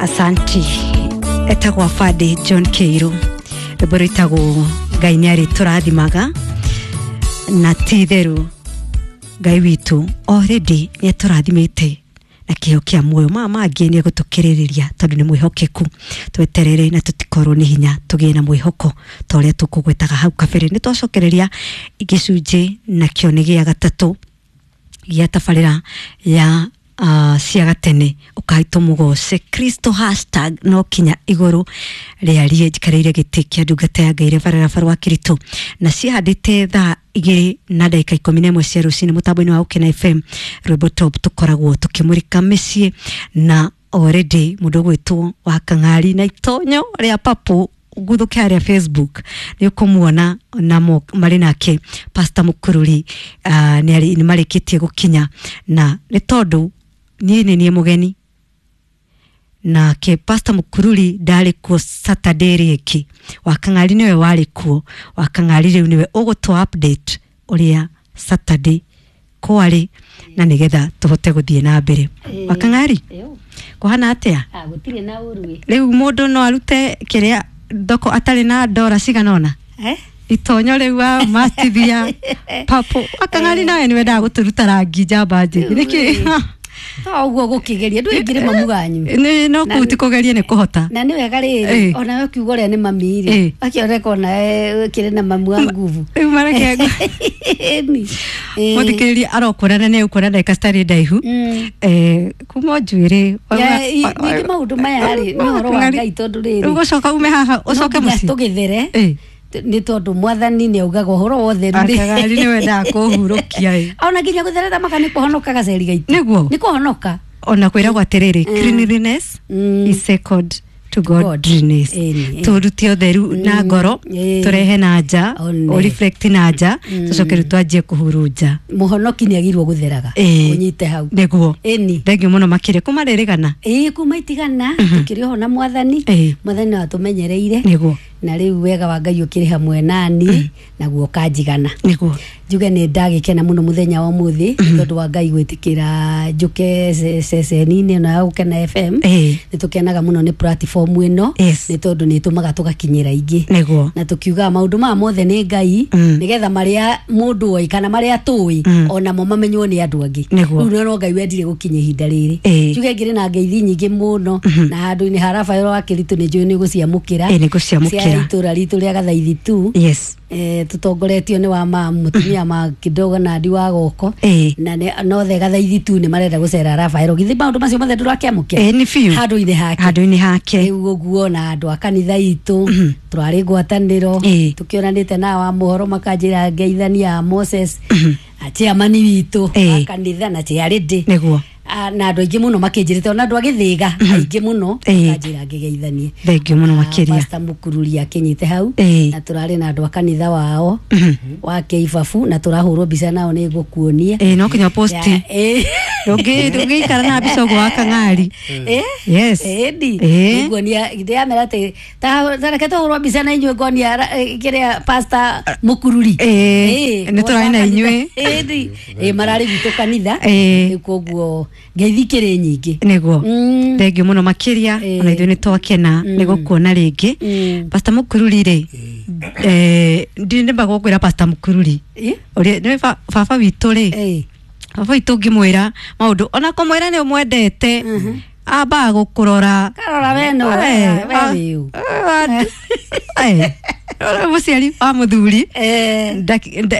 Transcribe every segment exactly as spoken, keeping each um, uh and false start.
Asanti. Etagwo Fadi John Keiru. Rwĩmbo rwĩtagwo Ngai nĩ arĩtũrathimaga na ti itherũ Ngai witũ already nĩ atũrathimĩte na kĩheo kĩa muoyo. Maya mangĩ nĩ egũtũkĩrĩrĩria tondũ nĩ mwĩhokeku. Tweterere na tũtikorwo nĩ hinya tũgĩe na mwĩhoko ta ũrĩa tũkũgwetaga hau kabere. Nĩ twacokereria gĩcunjĩ nakĩo nĩ gĩa gatatũ gĩa tabarĩra ya uh, cia gatene ũkaitwo mũgoce Kristo hashtag no kinya igũrũ rĩarie. Njikarĩire gĩtĩ kĩa ndungata ya Ngai Reverend Rafael wa Kirito na cihandĩte thaa igĩrĩ na ndagĩka ikũmi na ĩmwe cia rũcinĩ mũtambo-inĩ wa Gũkena F M rwĩmbo top. Tũkoragwo tũkĩmũrĩka mĩciĩ na already mũndũ ũgwĩtwo wa Kang'ari na itonyo rĩa papo nguthuke harĩa Facebook nĩ ũkũmuona na marĩ nake Pastor Mũkururi uh, nĩ marĩkĩtie gũkinya na nĩ tondũ niĩ nĩ niĩ mũgeni nake Pastor Mũkururi ndarĩ kuo Saturday rĩngĩ. Wa Kang'ari nĩwe warĩ kuo. Wa Kang'ari rĩu nĩwe ũgũtũ update ũrĩa Saturday kwarĩ na nĩgetha tũhote gũthiĩ na mbere. Wa Kang'ari kũhana atĩa? Gũtirĩ na ũru. Rĩu mũndũ no arute kĩrĩa thoko atarĩ na ndora cigana ũna eh? Itonyo rĩu wa matithia papo. Wa Kang'ari nawe nĩ wendaga gũtũruta rangi njamba njĩthĩ nĩkĩ? To ũguo gũkĩgeria ndũingĩre mamu ganyu nĩ no kũu ti kũgeria nĩ kũhota na nĩ wega rĩrĩ onawe ũkiuga ũrĩa nĩ mami rĩ akĩoneka onawe ũkĩrĩ na mamu wa nguvu rĩu mareke mũthikĩrĩria arokuona na nĩ ũkuona ndagĩka citarĩ ndaihu eh kuma njuĩrĩ ningĩ maũndũ maya rĩ nĩ ũhoro wa Ngai tondũ rĩrĩ ũgũcoka ume haha ũcoke mũciĩ tũgĩthere nĩ tondũ mwathani nĩ augaga ũhoro wothe rĩ Kang'ari nĩ wendaga kũhurũkia ĩ ona nginya gũtherera maka nĩ kũhonoka gaceri gaitũ nĩguo nĩ kũhonoka ona kwĩragwo atĩrĩrĩ cleanliness is second to godliness. Tũrute ũtheru na ngoro tũrehe na nja ũreflect na nja tũcoke rĩu twanjie kũhurunja. Mũhonoki nĩ agĩrĩirwo gũtheraga ũnyite hau nĩguo. Ĩni thengiũ mũno makĩria kuma rĩrĩgana ĩĩ kuma itigana tũkĩrĩ oho na mwathani mwathani no atũmenyereire nĩguo na rĩu wega wa Ngai ũkĩrĩ hamwe nani naguo ũkanjigana nĩguo. Njuge nĩ ndagĩkena mũno mũthenya wa ũmũthĩ tondũ wa Ngai gwĩtĩkĩra njũke ceceni-inĩ ĩno ya Gũkena F M. Nĩ tũkenaga mũno nĩ platform ĩno nĩ tondũ nĩ ĩtũmaga tũgakinyĩra aingĩ nĩguo na tũkiugaga maũndũ maya mothe nĩ Ngai nĩgetha marĩa mũndũ oĩ kana marĩa tũĩ onamo mamenywo nĩ andũ angĩ. Rĩu no Ngai wendire gũkinya ihinda rĩrĩ. Njuge ngĩrĩ na ngeithi nyingĩ mũno na handũ-inĩ ha Rafael wa Kĩritũ nĩ njũĩ nĩ ũgũciamũkĩra nĩ ngũciamũkĩra itũra ritũ rĩa Gathaithi tu yes eh tutongoretio nĩ wa ma mũtumia ma kidogo na ndi wa goko na nothe Gathaithi tu nĩ marenda gũcera Rafael githĩ maũndũ macio mothe ndũrakĩamũkĩra eh nĩ biũ handũ-inĩ hake handũ-inĩ hake rĩu ũguo na andũ a kanitha itũ tũrarĩ ngwatanĩro tũkĩonanĩte na wa mũhoro makanjĩra ngeithania ya Moses chairman witũ wa kanitha na chairlady nĩguo na andũ aingĩ mũno makĩnjĩrĩte ona andũ a Gĩthĩga aingĩ mũno makanjĩra ngĩgeithanie. Thengiũ mũno makĩria Pastor Mũkururi akinyĩte hau na tũrarĩ na andũ a kanitha wao wa Kĩibabu na tũrahũrwo mbica nao nĩ ngũkuonia ĩĩ no kinya post ndũngĩikara na mbica ũguo wa Kang'ari yes ĩni nĩnguonia ndĩramera atĩ ta reke tũhũrwo mbica na inyuĩ ngonia kĩrĩa Pastor Mũkururi nĩ tũrarĩ na inyuĩ ĩni ĩ mararĩ gwitũ kanitha koguo ngeithi kĩrĩ nyingĩ nĩguo. Thengiũ mũno makĩria ona ithuĩ nĩ twakena nĩ gũkuona rĩngĩ. Pastor Mũkururi rĩ eh ndĩndĩmba gũkwĩra Pastor Mũkururi ũrĩa nĩ baba witũ rĩ baba witũ ngĩmwĩra maũndũ ona kũmwĩra nĩ ũmwendete ambaga gũkũrora karora we no we rĩu mũciari wa mũthuri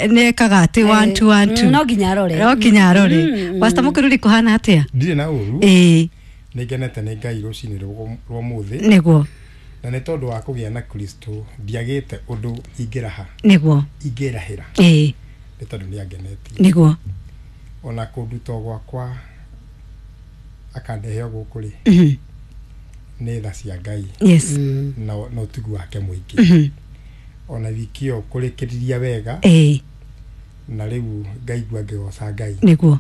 nĩekaga atĩ one two one two no nginya arore no nginya arore. Pastor Mũkururi kũhana atĩa? Ndirĩ na ũru ĩĩ nĩ ngenete nĩ Ngai rũcinĩ rwa ũmũthĩ nĩguo na nĩ tondũ wa kũgĩa na Kristo ndiagĩte ũndũ ingĩraha nĩguo ingĩrahĩra ĩĩ nĩ tondũ nĩ angenetie nĩguo ona kũnduta gwakwa akandehe gũkũ rĩ nĩ tha cia Ngai yes na na ũtugi wake mũingĩ ona wiki ĩyo kũrĩkĩrĩria wega ĩĩ na rĩu ngaigua ngĩgoca Ngai nĩguo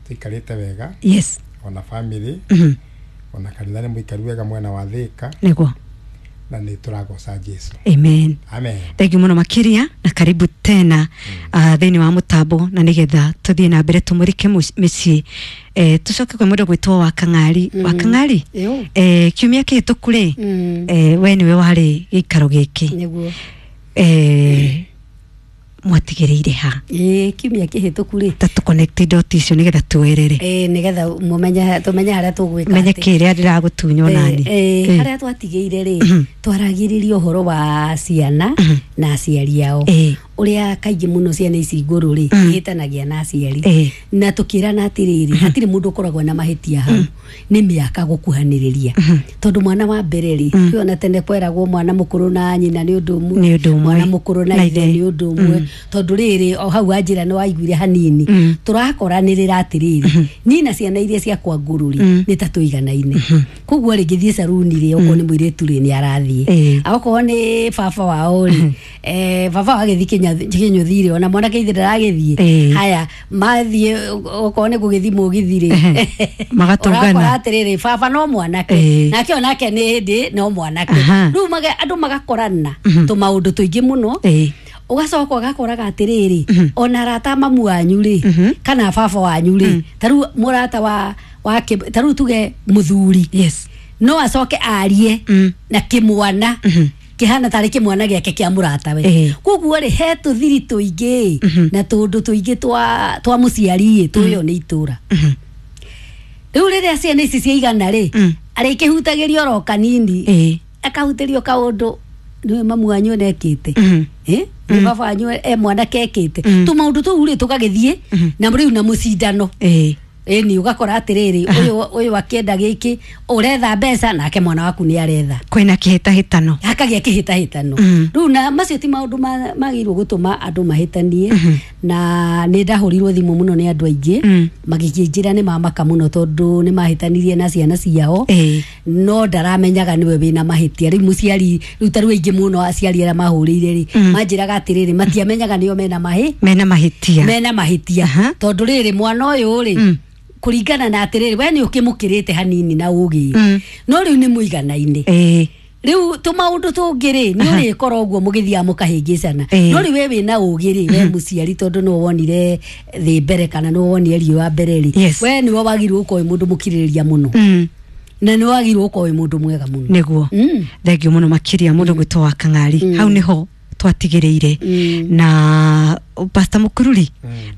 tũikarĩte wega yes ona family ona kanitha nĩ mũikaru wega mwena wa Thĩka nĩguo Na nĩ tũragoca Jesu. Amen. Amen. Thank you muno makiria na karibu tena mm. uh, thĩinĩ wa mũtambo na nĩgetha tũthiĩ na mbere tũmũrĩke mĩciĩ. Eh, tucoke kwĩ mũndũ gwĩtwo wa Kang'ari. Mm. Wa Kang'ari eh, kiumia kĩhĩtũku rĩ mm. eh, we nĩwe warĩ gĩikaro gĩkĩ. Nĩguo. Eh, mwatigĩrĩire ha? Ĩĩ kiumia kĩhĩtũku rĩ ta tũ connect dot icio nĩgetha tuerere. Ĩĩ nĩgetha mũmenye tũmenye harĩa tũgwĩka. Menye kĩrĩa ndĩragũtunywo nani. Ĩĩ harĩa twatigĩire rĩ twaragĩrĩria ũhoro wa ciana na aciari ao. Ũrĩa kaingĩ mũno ciana ici ngũrũ rĩ ihĩtanagia na aciari. Na tũkĩrana atĩrĩrĩ hatirĩ mũndũ ũkoragwo na mahĩtia hau nĩ mĩaka gũkuhanĩrĩria. Tondũ mwana wa mbere rĩ kwĩona tene kweragwo mwana mũkũrũ na nyina nĩ ũndũ ũmwe, mwana mũkũrũ na ithe nĩ ũndũ ũmwe. Tondũ rĩrĩ o hau wanjĩra nĩ waiguire hanini tũrakoranĩrĩra atĩrĩrĩ niĩ na ciana iria ciakwa ngũrũ rĩ nĩ ta tũiganaine. Koguo rĩ ngĩthiĩ caruni rĩ okorwo nĩ mũirĩtu rĩ nĩ arathiĩ, okorwo nĩ baba wao rĩ eh, baba wao agĩthiĩ kĩnyũthi rĩ ona mwanake ithe ndaragĩthiĩ. Haya mathiĩ okorwo nĩ gũgĩthiĩ mũgithi rĩ magatũngana ũrakora atĩrĩrĩ baba no mwanake nake onake nĩ hĩndĩ no mwanake. Rĩu andũ magakorana tũmaũndũ tũingĩ mũno. Ugacoka ugakoraga atiriri ona arata mamu wanyu ri kana baba wanyu ri taru murata wa wa taru tuge muthuri yes no acoke arie na kimwana kihana tari kimwana giake kia murata we. Koguo ri he tuthiri tuingi na tundu tuingi twa twa muciari tuyo ni itura. Riu riria ciana ici ciaigana ri arikihutagirio oro kanini akahutĩrio kaũndũ niwe mamu wanyu nekĩte eh ni baba wanyu e mwanake ekĩte tũmaũndũ tũu rĩ tũgagĩthiĩ na rĩu na mũcindano eh ĩni ũgakora atĩrĩrĩ ũyũ ũyũ akĩenda gĩkĩ ũretha mbeca nake mwana waku nĩ aretha kwĩna kĩhĩtahĩtano hakagĩa kĩhĩtahĩtano. Rĩu na macio ti maũndũ magĩrĩirwo gũtũma andũ mahĩtanie. Na nĩ ndahũrirwo thimũ mũno nĩ andũ aingĩ magĩkĩnjĩra nĩ mamaka mũno tondũ nĩ mahĩtanirie na ciana ciao no ndaramenyaga nĩwe wĩna mahĩtia. Rĩu mũciari rĩu ta rĩu aingĩ mũno aciari arĩa mahũrĩire rĩ manjĩraga atĩrĩrĩ matiamenyaga nĩo mena mahĩ mena mahĩtia mena mahĩtia tondũ rĩrĩ mwana ũyũ rĩ kuringana na atiriri we ni ukimukirite hanini na ugi no riu ni muiganaine riu tumaundu tungiri ni urikora uguo mugithia mukahingicana no riu we wina ugi ri we muciari tondu no wonire thi mbere kana no wonire riua mbere ri we niwe wagirwo gukorwo mundu mukiririria muno na ni wagirwo gukorwo mundu mwega muno niguo. Thank muno makiria mundu gwitwo wa Kang'ari hau niho twatigireire na Pastor Mukururi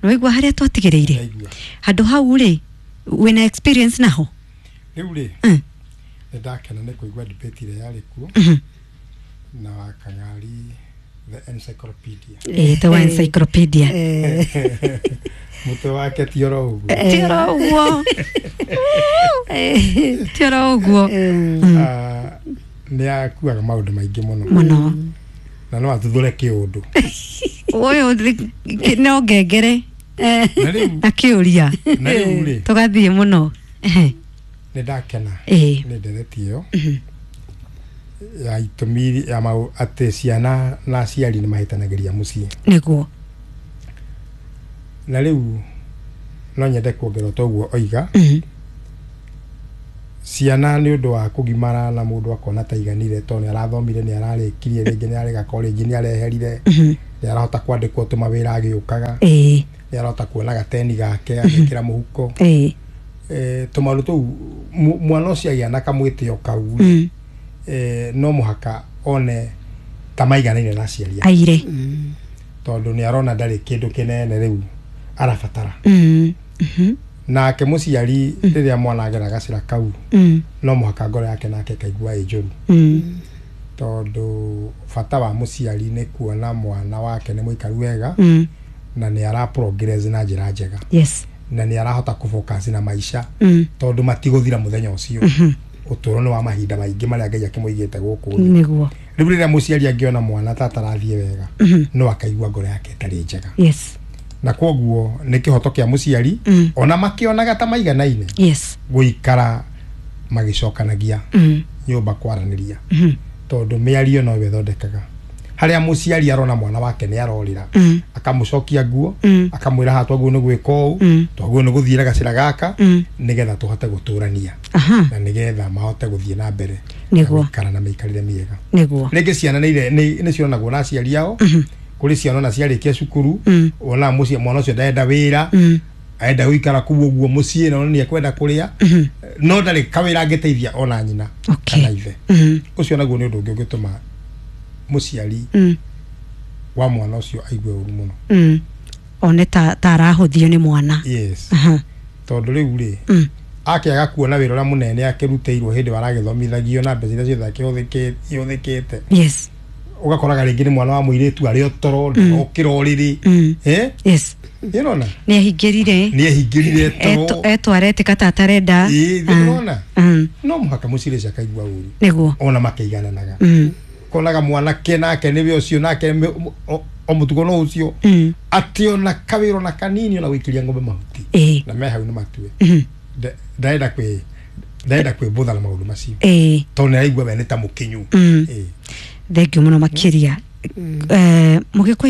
no igwa haria twatigireire handu hau ri wina experience naho riu ri nĩ ndakena nĩ kũigua debate ĩrĩa yarĩ kuo na wa Kang'ari the encyclopedia eh the encyclopedia mutwe wake ti oro ũguo ti oro ũguo ti oro ũguo nĩ akuaga maũndũ maingĩ mũno mũno na no athuthũre kĩũndũ ũyũ no ngengere na kĩũria na rĩu rĩ tũgathiĩ mũno nĩ ndakena nĩ ndereti ĩyo ya itũmi ya mau atĩ ciana na aciari nĩ mahĩtanagĩria mũciĩ nĩguo. Na rĩu no nyende kuongerera toguo oiga ciana nĩ ũndũ wa kũgimara na mũndũ akona ta iganire tondũ nĩ arathomire nĩ ararĩkirie rĩngĩ nĩ arĩga college nĩ areherire nĩ arahota kwandĩkwo tũmawĩra agĩũkaga nĩ arahota kuona gateni gake agĩkĩra mũhuko eh tũmaũndũ tũu mwana ũcio agĩa na kamwĩtĩo kau eh no mũhaka one ta maiganaine na aciari aire tondũ nĩ arona ndarĩ kĩndũ kĩnene rĩu arabatara nake mũciari rĩrĩa mwana agera gacĩra kau no mũhaka ngoro yake nake kaigua ĩ njũru tondũ bata wa mũciari nĩ kuona mwana wake nĩ mũikaru wega na nĩ ara progress na njĩra njega yes na nĩ arahota kũfocus na maica tondũ matigũthira mũthenya ũcio ũtũũro nĩ wa mahinda maingĩ marĩa Ngai akĩmũigĩte gũkũ thĩ nĩguo. Rĩu rĩrĩa mũciari angĩona mwana ta atarathiĩ wega no akaigua ngoro yake ĩtarĩ njega yes na kwoguo nĩ kĩhoto kĩa mũciari ona makĩonaga ta maiganaine yes gũikara magĩcokanagia nyũmba kwaranĩria tondũ mĩario no ĩthondekaga Harĩa mũciari arona mwana wake nĩ arorĩra, Mm. akamũcokia nguo, Mm. akamwĩra haha twagĩrĩirwo nĩ gwĩka ũũ, Mm. twagĩrĩirwo nĩ gũthiĩra gacĩra gaka, Mm. nĩgetha tũhote gũtũrania Aha. na nĩgetha mahote gũthiĩ na mbere na Nĩguo. gũikara na mĩikarĩre mĩega. Nĩguo. Rĩngĩ ciana nĩ ire- nĩ nĩ cionanagwo na aciari ao. Kũrĩ ciana ona ciarĩkia cukuru, Mm. wonaga mũciĩ mwana ũcio ndarenda wĩra, Mm. arenda gũikara kũu ũguo mũciĩ, na nĩ ekwenda kũrĩa, no ndarĩ kawĩra angĩteithia ona nyina Okay. kana ithe. Mm. Ũcio naguo nĩ ũndũ ũngĩ ũngĩtũma mũciari Mm. wa mwana ũcio aigue ũru mũno. Mm. One ta ta arahũthio nĩ mwana. Yes. Aha. Tondũ rĩu rĩ, Mm. akĩaga kuona wĩra ũrĩa mũnene akĩrutĩirwo hĩndĩ waragĩthomithagio na mbeca iria ciothe akĩhũthĩkĩ- ihũthĩkĩte, Yes. ũgakoraga rĩngĩ nĩ mwana wa mũirĩtu arĩ o toro, ndarokĩra ũrĩrĩ. Mm. Eh? Yes. Nĩũrona? Nĩ ehingĩrire. Nĩ ehingĩrire toro. Etwarete kata atarenda. Ĩĩ, nĩũrona? Mm. No mũhaka mũciari ũcio akaigua ũru. Nĩguo. Ona makĩigananaga, Mm. konaga mwanake nake nĩwe ũcio nake nĩ- o o mũtugo no ũcio, Mm. atĩ ona kawĩra ona kanini, ona gũikĩria ng'ombe mahuti, Ĩĩ. na me hau nĩ matue. Mhm. Nda- ndarenda kwĩ ndarenda kwĩbũtha na maũndũ macio, Ĩĩ. tondũ nĩ araigua we nĩ ta mũkinyu. Mm. Ĩĩ. Thank you mũno makĩria. Eh, mũgĩkũyũ.